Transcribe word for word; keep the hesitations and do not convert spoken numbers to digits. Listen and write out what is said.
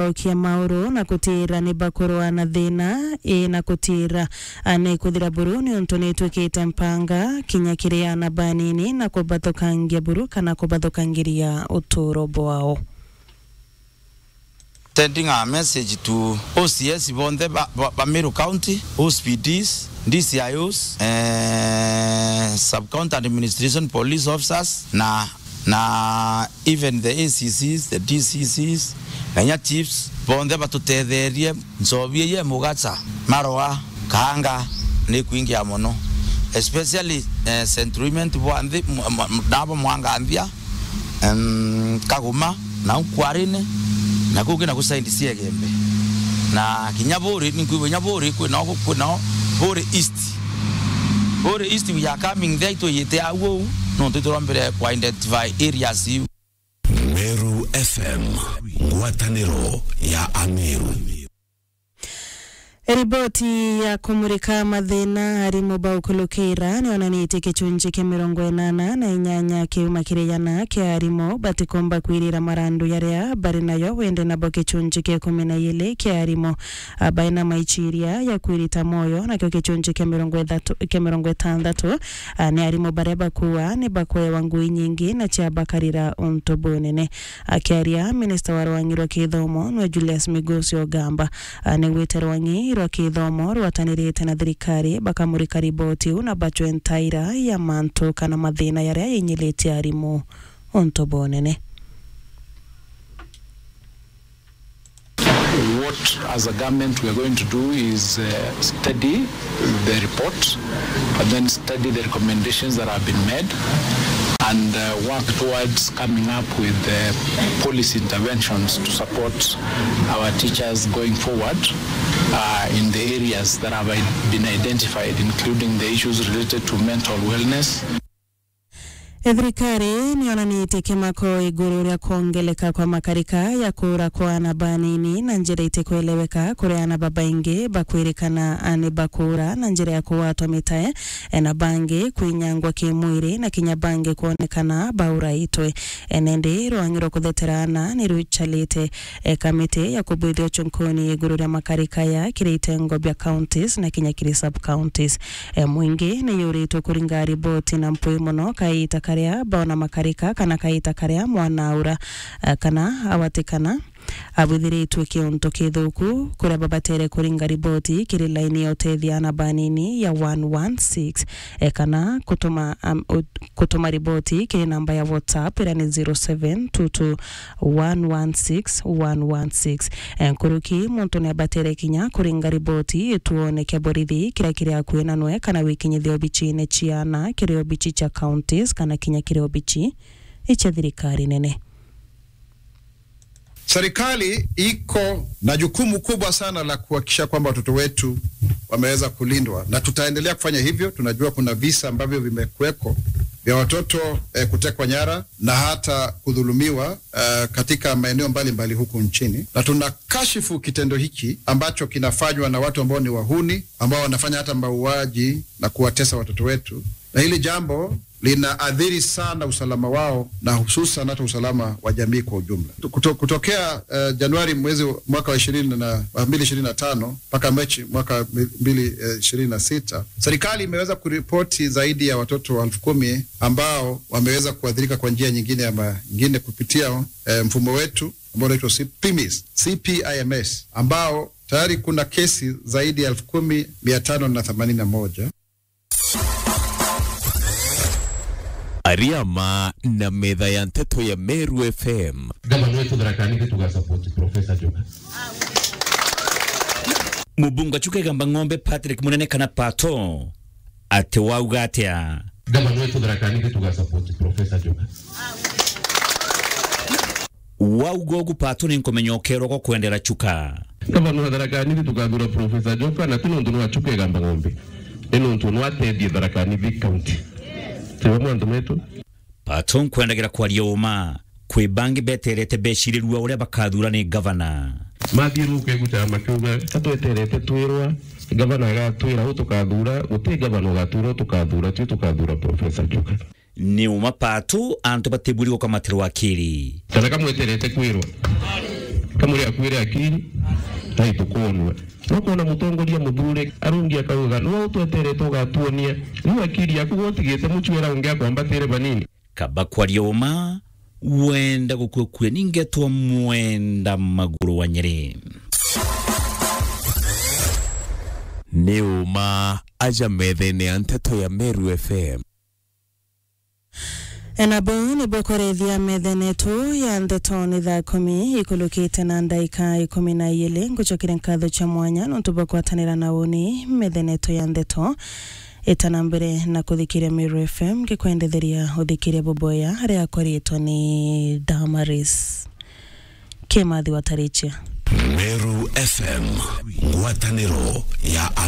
Okia mauru na kutira ni bakurwa na thina, i na kutira, a, ni kuthira buru niuntu ni itwikite mpanga kinya kiri ana banini na kubathukangia buru kana kubathukangiria uturo bwao. Sending a message to O C S bonthe ba, ba, ba Meru County, O C P Ds, D C I Os, eh, Sub-County Administration Police Officers, na, na even the A C Cs, the D C Cs, na inya chiefs, bonthe batutetherie. Nchobi ii e Mugacha, Marwa, Kaanga ni ikwingia mono, especially, eh, Central Imenti bwa nthi, m-, m-, nabo Mwanganthia, em, Kaguma, na u Kwarine, na kungi na ku side cia Igembe. Na kinya Buri, ninkwigua kinya Buri, kwina o, kwina o Buri East. Buri East, we are coming there, itwiyite au uu, nontu iturombire ku identify areas iu. Meru F M, ngwataniro ya Ameru. Riboti ya kumurika mathina arimu ba ukulukira nionanitie gicunji kia mirongo inana na inyanya kiuma kiri igana kia arimu batikumba kwirira marandu yaria bari nayo, wende nabo gicunji kia ikumi na iiri kia arimu, a, baina maiciria ya kwirita mwoyo, nakio gicunji kia mirongo ithatu, kia mirongo itandatu, a, ni arimu baria bakua ni bakwewa ngui nyingi na ciabakarira untu bunene. Akiaria, minista wa rwang'i rwa kithomo nwe Julius Migosi Ogamba, a, nigwite rwang'i rwa kithomo rwatanirite na thirikari bakamurika riboti iu na bacwe ntaira ya mantu kana mathina yaria yainyilitie arimu untu bunene. What, as a government, we are going to do is, uh, study the report and then study the recommendations that have been made and, uh, work towards coming up with, uh, policy interventions to support our teachers going forward, uh, in the areas that have i-, been identified, including the issues related to mental wellness. Thirikari nionanitie kimako iguru ria kwongeleka kwa makarika ya kuura kwa ana banini na njira itikweleweka, kuri ana babaingi bakwirikana ni bakuura na njira ya kugwatwa mitae, na bangi kwinyangwa kimwiri na kinya bangi kwonekana bauraitwe. Nandi rwang'i rwa kuthetera ana ni ruchalite, e, kamiti ya kubwithia uchunkuni iguru ria makarika ya kiri itengo bia counties na kinya kiri sub counties. E, mwingi ni yuritwe kuringa riboti na mpwi mono kaita karia baona makarika kana kaita karia mwana aura, e, kana awatikana abwithiritwe kiuntu kithuku, kuria babatere kuringa riboti kiri laini ya utethia ana banini ya one one six, e, kana kutuma, am, ut-, kutuma riboti kiri namba ya WhatsApp iria ni zero seven two two one one six one one six. E, nkuruki, muntu ni abatere kinya kuringa riboti ituone kia borithi kiria kiri akui na nwe kana wikinyithia obichine ciana kiri obichi cia counties kana kinya kiri obichi icia thirikari nene. Serikali iko na jukumu kubwa sana la kuhakikisha kwamba watoto wetu wameweza kulindwa, na tutaendelea kufanya hivyo. Tunajua kuna visa ambavyo vimekuweko vya watoto, eh, kutekwa nyara na hata kudhulumiwa, eh, katika maeneo mbalimbali huku nchini, na tunakashifu kitendo hiki ambacho kinafanywa na watu ambao ni wahuni, ambao wanafanya hata mauaji na kuwatesa watoto wetu, na hili jambo linaathiri sana usalama wao na hususan hata usalama wa jamii kwa ujumla. Kuto-, kutokea, eh, Januari mwezi wa, mwaka wa ishirini na, wa mbili ishirini na tano mpaka Machi mwaka mbili, eh, ishirini na sita, serikali imeweza kuripoti zaidi ya watoto elfu kumi ambao wameweza kuathirika kwa njia nyingine ama nyingine kupitia, eh, mfumo wetu ambao unaitwa C-, pimis, C P I M S, ambao tayari kuna kesi zaidi ya elfu kumi mia tano na themanini na moja. Ariama na metha ya nteto ya Meru F M. Gavana wetu Tharaka Nithi tuga support Professor Njoka. Mubunge wa Chuka Igamba Ng'ombe Patrick Munene kana Pato ati wauga atia? Gavana wetu Tharaka Nithi tuga support Professor Njoka. Wauga ugu Pato ni nkumenya ukerwa gwa kwendera Chuka. Gavana wa Tharaka Nithi tukathura Professor Njoka, na ti nontu nwa Chuka Igamba Ng'ombe, ni nontu nwa atethie Tharaka Nithi County. Tiwe mwantu metu. Pato nkwendagira kwaria uma, kwi bangi beterete becirirua uria bakathura ni gavana. Mathiuruke guchara makiuga, ka tweterete twirwa, gavana agatwira u tukathura, guti gavana ugatura u tukathura, tui tukathura Professor Njoka. Ni uma Pato antu batiburi gukamatirwa akiri. Kana kamweterete kwirwa. Kamuri akuire akiri, tai tukonwe. No kwona mutongoria muthuri arungi akauga, "Nwe utweterete ugatuonia. Riu akiri yaku utigite mucwera ungi akwambatire banini." Kaba kwaria uma, wenda gukua kue ningetwa Mwenda Maguru wa Nyeri. Ni uma aja methene ya nteto ya Meru F M. Enabo nibwo kurethia methene yetu ya ndeto ni thaa kumi ikulukite na ndaika ikumi na ijiri. Ngucokire nkatho cia mwanya nontu bwa kwatanira na uni methene yetu ya ndeto. Itana mbere na kuthikiria Meru F M, ngikwendetheria uthikiria buboya riakwa riitwa ni Damaris Kimathi wa Tarichia. Meru F M, ngwataniro ya